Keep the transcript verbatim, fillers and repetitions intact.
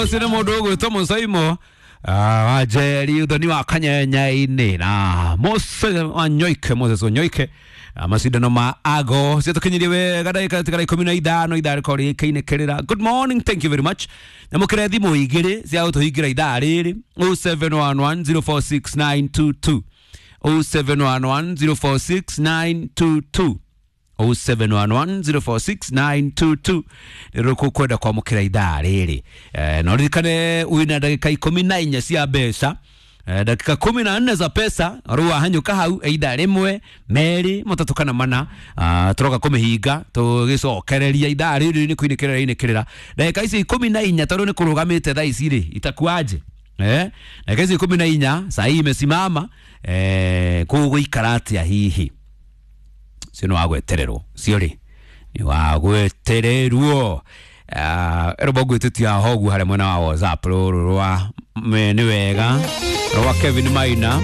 Ũcio nĩ mũndũ ũgwĩtwo Mũcaimo wa Njeri ũthoni wa Kanyenya-inĩ na Mose Wanyoike, Moses Wanyoike, macindano ma ago ciatũkinyirie wega ndagĩka tigara ikũmi na ithano ithaa rĩkorwo rĩkĩinĩkĩrĩra. Good morning, thank you very much. Nyamũkĩre thimũ igĩrĩ cia gũtũhingĩra ithaa rĩrĩ, zero seven one one zero four six nine two two, zero seven one one zero four six nine two two, zero seven one one zero four six nine two two nä kwenda kwamũkĩra ithaa rĩrĩ. Eh, no ririkane wĩna ndagĩka ikũmi na inya cia mbeca, eh, dakika kumi na nne za pesa. Rĩu wahanyũka hau either rĩmwe, merĩ, matatũ kana mana, ah, tũroka kũmĩhinga tũgĩcokereria ithaa rĩrĩ nĩ kũinĩkĩrĩra inĩkĩrĩra ndagĩka ici ikũmi na inya, tondũ nĩ kũrũgamĩte thaa ici rĩ itakuaje. Eh, ndagĩka ici ikũmi na inya saa hii imesimama, eh, kũgũikara atĩa hihi? Cio nĩ wagwetererwo, cio rĩ nĩ wagwetererwo. Ĩrũmba ngwĩtĩtia ho ũguo harĩa mwena wa WhatsApp rũrũ rwa me- nĩ wega rwa Kevin Maina.